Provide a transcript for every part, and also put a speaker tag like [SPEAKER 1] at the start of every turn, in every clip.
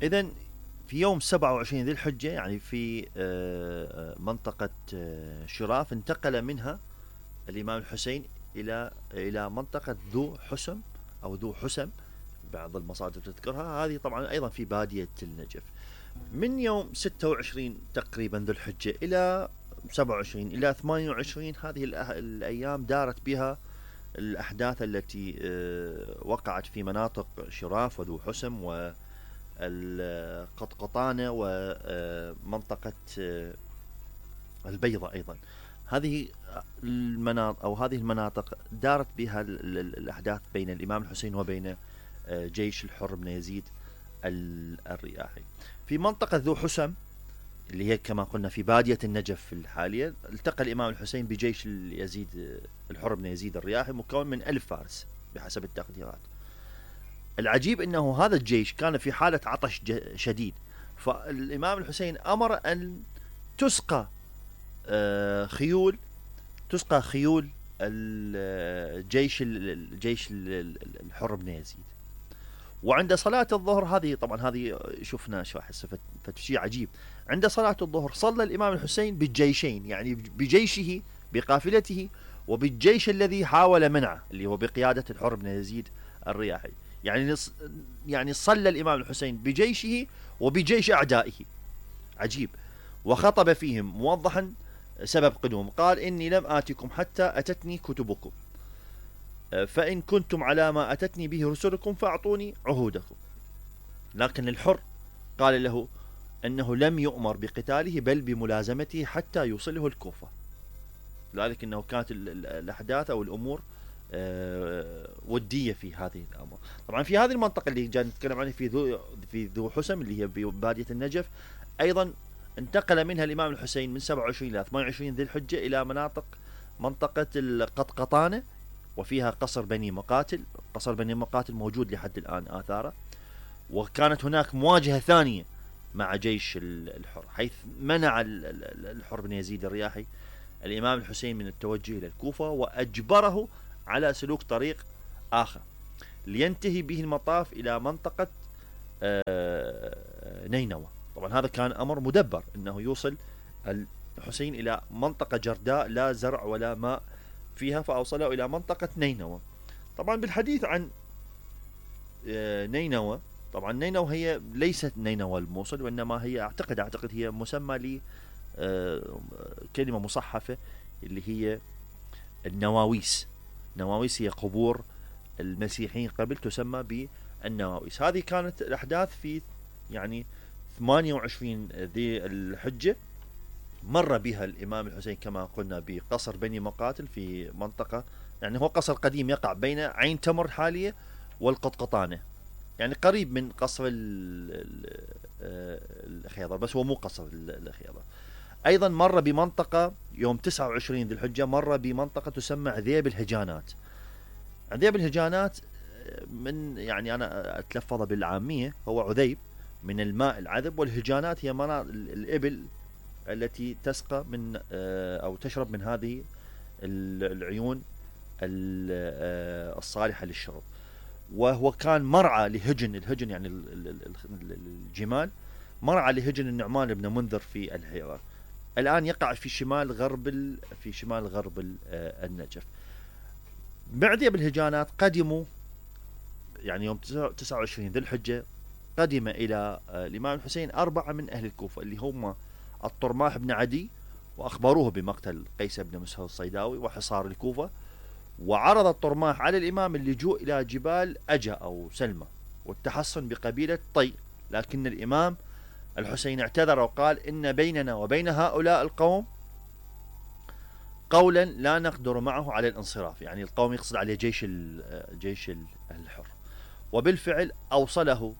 [SPEAKER 1] إذا في يوم 27 ذي الحجة يعني في منطقة شراف انتقل منها الإمام الحسين إلى منطقة ذو حسم أو ذو حسم، بعض المصادر تذكرها، هذه طبعا أيضا في بادية النجف. من يوم 26 تقريبا ذو الحجة إلى 27 إلى 28 هذه الأيام دارت بها الأحداث التي وقعت في مناطق شراف وذو حسم والقطقطانة ومنطقة البيضة أيضا. هذه المناطق أو هذه المناطق دارت بها الأحداث بين الإمام الحسين وبين جيش الحر بن يزيد الرياحي. في منطقة ذو حسم اللي هي كما قلنا في بادية النجف الحالية، التقى الإمام الحسين بجيش يزيد الحر بن يزيد الرياحي مكون من 1000 فارس بحسب التقديرات. العجيب أنه هذا الجيش كان في حالة عطش شديد، فالإمام الحسين أمر أن تسقى خيول الجيش الحر بن يزيد. وعند صلاة الظهر، هذه طبعا هذه شفنا شيء عجيب، عند صلاة الظهر صلى الإمام الحسين بالجيشين، يعني بجيشه بقافلته وبالجيش الذي حاول منعه اللي هو بقيادة الحر بن يزيد الرياحي. يعني صلى الإمام الحسين بجيشه وبجيش أعدائه. عجيب. وخطب فيهم موضحا سبب قدوم، قال: إني لم آتكم حتى أتتني كتبكم، فإن كنتم على ما أتتني به رسلكم فأعطوني عهودكم. لكن الحر قال له أنه لم يؤمر بقتاله بل بملازمته حتى يوصله الكوفة، لذلك أنه كانت الأحداث أو الأمور ودية في هذه الأمور. طبعا في هذه المنطقة اللي جاء نتكلم عنها في ذو حسم اللي هي ببادية النجف، أيضا انتقل منها الإمام الحسين من 27 إلى 28 ذي الحجة إلى منطقة القطقطانة، وفيها قصر بني مقاتل. قصر بني مقاتل موجود لحد الآن آثاره. وكانت هناك مواجهة ثانية مع جيش الحر، حيث منع الحر بن يزيد الرياحي الإمام الحسين من التوجه إلى الكوفة، وأجبره على سلوك طريق آخر لينتهي به المطاف إلى منطقة نينوى. طبعا هذا كان أمر مدبر، أنه يوصل الحسين إلى منطقة جرداء لا زرع ولا ماء فيها، فأوصله إلى منطقة نينوى. طبعا بالحديث عن نينوى، طبعا نينوى هي ليست نينوى الموصل، وإنما هي أعتقد هي مسمى لكلمة مصحفة اللي هي النواويس. نواويس هي قبور المسيحيين قبل، تسمى بالنواويس. هذه كانت الأحداث في يعني 28 ذي الحجة. مر بها الإمام الحسين كما قلنا بقصر بني مقاتل في منطقة، يعني هو قصر قديم يقع بين عين تمر الحالية والقطقطانة، يعني قريب من قصر الخيضر، بس هو مو قصر الخيضر. أيضا مر بمنطقة يوم 29 ذي الحجة، مر بمنطقة تسمى عذيب الهجانات. عذيب الهجانات من يعني أنا أتلفظ بالعامية هو عذيب من الماء العذب، والهجانات هي الإبل التي تسقى من أو تشرب من هذه العيون الصالحة للشرب. وهو كان مرعى الهجن يعني الجمال، مرعى لهجن النعمان بن منذر في الهيرة. الآن يقع في شمال غرب النجف. بعد بالهجانات قدموا يعني يوم 29 ذي الحجة، قدم إلى الإمام الحسين 4 من أهل الكوفة اللي هم الطرماح بن عدي، وأخبروه بمقتل قيس بن مسهر الصيداوي وحصار الكوفة. وعرض الطرماح على الإمام اللجوء إلى جبال أجا أو سلمى والتحصن بقبيلة طي، لكن الإمام الحسين اعتذر وقال: إن بيننا وبين هؤلاء القوم قولا لا نقدر معه على الانصراف، يعني القوم يقصد عليه جيش الحر. وبالفعل أوصل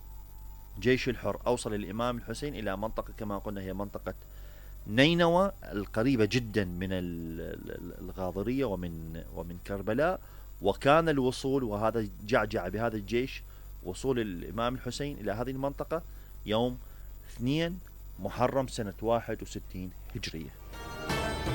[SPEAKER 1] الإمام الحسين إلى منطقة كما قلنا هي منطقة نينوى القريبة جدا من الغاضرية ومن كربلاء. وكان الوصول، وهذا جعجع بهذا الجيش، وصول الإمام الحسين إلى هذه المنطقة يوم 2 محرم سنة 61 هجرية.